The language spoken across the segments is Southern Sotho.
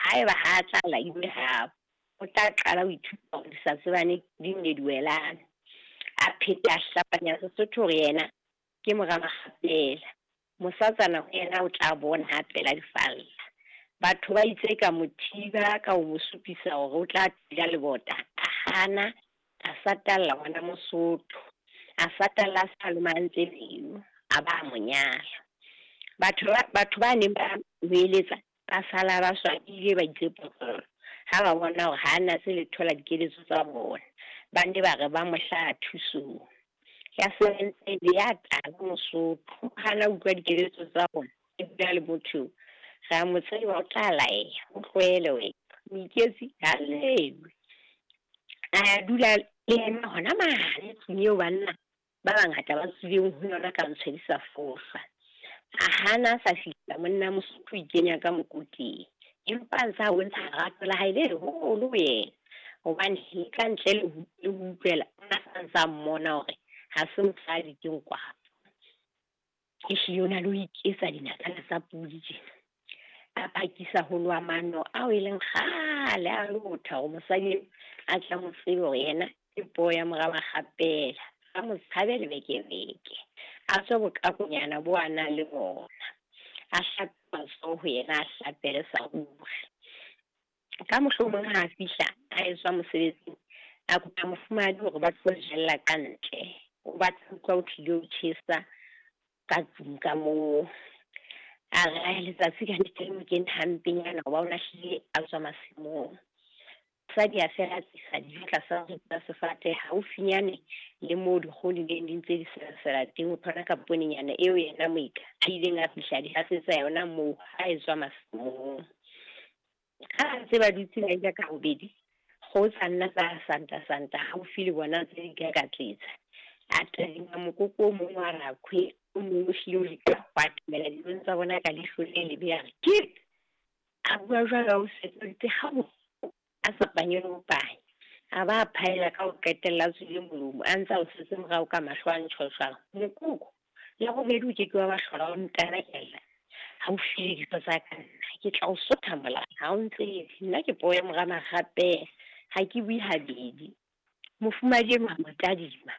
Haeba ha a tla laiwe habo, o tla qala ho ithuta hore di sa tsebane di nne di welane. A pheta a hlapanya Sesotho hore yena ke mora Makgapela. Mosatsana ho yena o tla bona ha pela difalla. Batho ba itse ka mo thiba ka ho mo supisa hore o tla tila lebota. A hana, a satalla ngwana Mosotho. A satalla a sa lomahantse pelo, a ba a mo nyala. Batho ba neng ba mo eletsa ba sala ba swabile ba itse potlolo. Ha ba bona hore ha a natse letho la dikeletso tsa bona. Ba ne ba re ba mo hlaha thusong. Ya sebentse le ya tala Mosotho, hana utlwa dikeletso tsa bona. E bua le motho, re a mo tseba o tla laeha, o tlohele wena. Moiketsi ha llewe. A dula le yena hona mane tlung eo banna ba bangata ba tswileng ho yona ka ntshwedisa fofa. A hana a sa fihla monna Mosotho o ikenya ka mokoteng. Empa a ntse a bontsha lerato la hae le leholo ho yena. Hobane le ka ntle le ho utlwela, o na sa ntse a mmona hore ha se mosadi ke nkwapo. Ehlile o na le ho iketsa dinakana tsa podi tjena. A phakisa ho loha mano ao e leng kgale a lotha hore mosadi a tla mo tsebe hore yena ke poo ya mora Makgapela. A mo tshabe lebekebeke. A tswe bokakonyana bo a nang le bona. A hlape matsoho ho yena, a hlapele sa ruri. Ka mohlomong ha a fihla a etswa mosebetsing, a kopa mofumahadi hore ba tlo jella ka ntle. O batla ho utlwa ho tlile ho tjhesa ka tlung ka moo. A re ae letsatsi ka nnete le mo kene hampenyana hoba o lahlile a tswa masimong. Mosadi a fela a tlisa dijo tlasa moriti wa sefate haufinyane le moo dikgoho di neng di ntse di selasela teng. O thola ka ponenyana eo yena moeka a ileng a fihla di hasetsa yona moo ha e tswa masimong. Ha ntse ba dutse ba ja ka bobedi, kgoho tsa nna tsa santa santa haufi le bona tse di kakatletsa. A tadima mokoko o mong wa rakhwe, o mong o hlile o leka ho atamela dijong tsa bona ka leihlo le lebe, a re kip. A bua jwalo a o setsoditse ha bohloko, a sa panye le ho panya. A ba a phaella ka ho qetella a tswile molomo, a ntse a o setse morao ka mahlo a ntjhotjhang. Mokoko la bobedi o ke ke wa ba hlola o ntanakella haufi le dijo tsa ka nna. Ke tla o sotha molala, ha o ntsebe. Nna ke poo ya mora Makgapela, ha ke bue habedi. Mofumahadi enwa a mo tadima,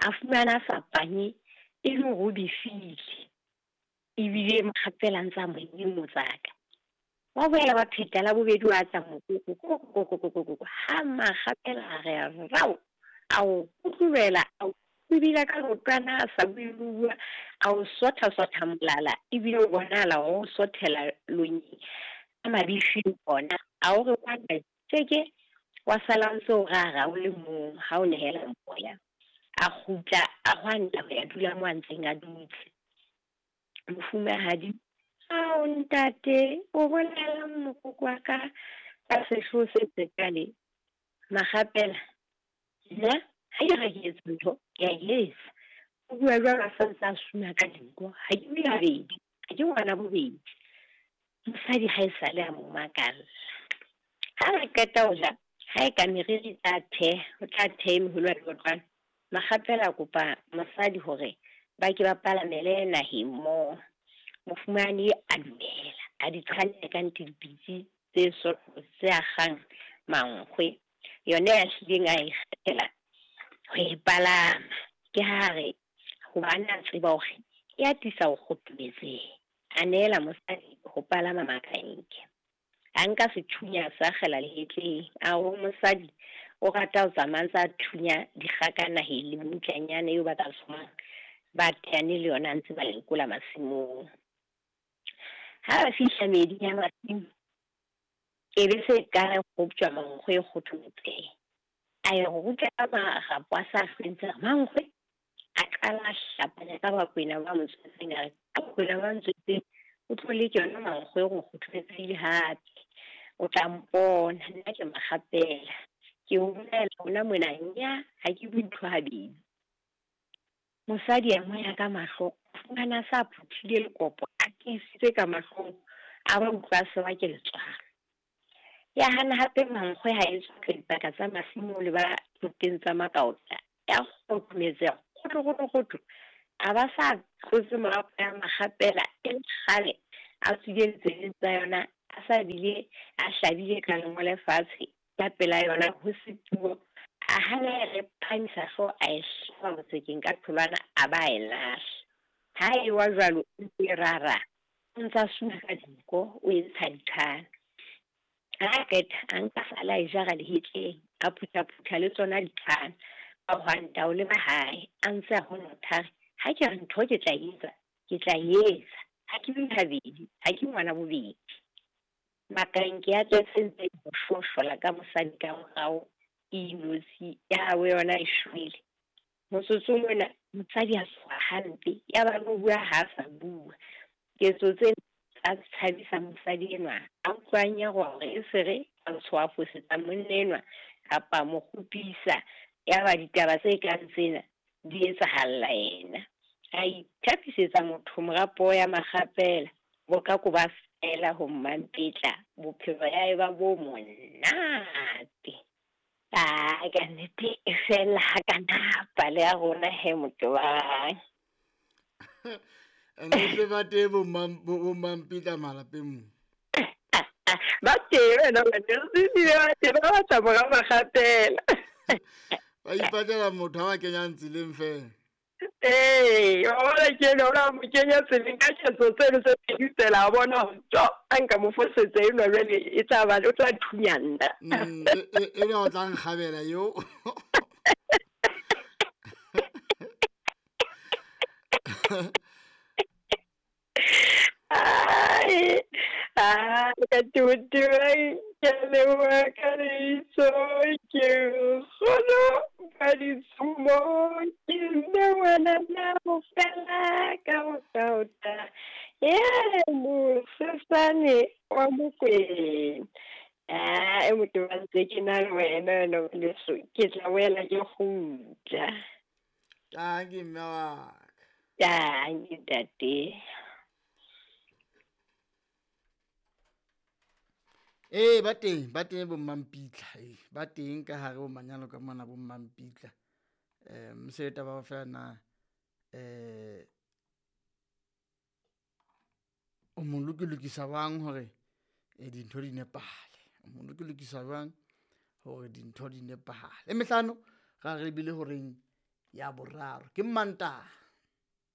a fumana a sa panye e le hore o befile. Ebile Makgapela a ntse a mo nyemotsaka. Wa boela wa pheta la bobedi wa tla mokoko, koko, koko, koko, koko. Ha Makgapela a re rao, a o kutlubela, a o ebile ka leotwana a sa bue le ho bua, a o sotha sotha molala, ebile o bonahala o sothela lonyeng ka mabifi ona. A o re kwana tjeke, wa sala o ntse o rara o le mong ha o nehela moya. A kgutla a hwanta ho ya dula moo a ntseng a dutse. Mofumahadi, ao ntate, o bolelang mokoko wa ka ka sehloho se sekale? Makgapela, nna ha ke re ke etsa ntho, ke a e etsa. O bua jwalo a sa ntse a suna ka dinko. Ha ke bue habedi, ha ke ngwana bobedi. Mosadi ha e sale a mo makalla. Ha re qeta ho ja, ha e ka meriri tla theha, o tla theha meholo ya leotlwana. Makgapela a kopa mosadi hore ba ke ba palamele naheng moo. Mofumahadi a dumela, a di qhalla ka ntle dipitsi tse sotho tse akgang mankgwe. Yona ya hlileng a e kgethela ho e palama. Ke ha re hobane a tseba hore e atisa ho kgothometseha. A neela mosadi ho palama makanke. A nka sethunya sa akgela lehetleng. A ho mosadi o rata ho tsamaya ntse a thunya dikgaka naheng le mmutlanyana eo ba ka tsomang ba teane le yona a ntse ba lekola masimong. Ha ba fihla meeding ya masimo, e be se qala ho kgoptjwa mankgwe e kgothometseha. A e rutla ka marapo a sa hlwentse a re, mankgwe. A qala a hlapanya ka Bakwena ba mo tswetseng, a re, ka Bakwena ba ntswetseng, o tlo leke yona mankgwe hore o kgothometsehile hape. O tla mpona, nna ke Makgapela. Ke o bolela hona mona, nya, ha ke bue ntho habedi. Mosadi a mo ya ka mahlo, a fumana a sa phuthile lekopo, a tiisitse ka mahlong, a ba utlwa a sewa ke letswalo. Ya hana hape mankgwe ha e tswa ka dipaka tsa masimo le ba thoteng tsa makaota. Ya kgothometseha, kgotho, kgotho, kgotho. A ba sa tlotse marapo ya Makgapela e le kgale, a tswile ditsebeng tsa yona, A sa bile a hlabile ka lengole fatshe ka pela yona ho se puo. A hana e re phahamisa hlooho a e hlaba botsekeng ka tholwana a ba a e lahla. Ha e wa jwalo e ntse e rara, o ntsa suna ka dinko o e ntsha dithana. Ha a qeta a nka sala a e jara lehetleng, a phuthaphutha le tsona dithana. A hwanta ho leba hae a ntse a honotha a re, ha ke re ntho ke tla etsa, ke tla etsa. Ha ke bue habedi, ha ke ngwana bobedi. Makanke ya tletse ntse e shoshola ka mosadi ka morao e inotshi ya habo yona e shwele. Motsotsong ona mosadi a tshoha hampe ya ba le ho bua ha a sa bua. Ketso tsena tsa tshabisa mosadi enwa a utlwa a nyaroha hore e se re a tshoha fosetsa monna enwa kapa mo kgopisa. Ya ba ditaba tse kang tsena di etsahalla yena. A ithapisetsa motho mora ya makgapela bokako ba fela ho mmampetla bophelo ya eba bo monate. Ah, ka nnete e fela ha kana pale ya rona he motobang. Ene se ba teng bo mmampetla malapeng mo. Ba teng wena ngwaneso, ebile ba teng ba batla mora makgapela. Ba ipatlela motho a ba kenyang tseleng fela. Ee, wa bona ke enwa, o la mo kenya tseleng ka ketso tseno tse pedi tsela, a bona hore tjo, a nka mo fosetsa enwa jwale e tla ba, o tla thunya nna. Enwa o tla nkgabela eo. Ai, ai, ka tebotebang, ke a leboha ka lebitso, ke nkgono ka ditshumo, ke nna ngwanana ho fela ka bokaota, ya mosesane wa Mokwena. Ah, e motho ba ntse ke na le wena wena ngwaneso, ke tla boela ke kgutla. Tanki mme wa ka. Tanki ntate. Ee, ba teng, ba teng bo mmampitla, ee, ba teng ka hare ho manyalo ka mona bo mmampitla. Se taba ba fela na o mo lokilokisa jwang hore dintho di nepahale. O mo lokilokisa jwang hore dintho di nepahale. E mehlano ra re bile horeng ya boraro ke Mantaha.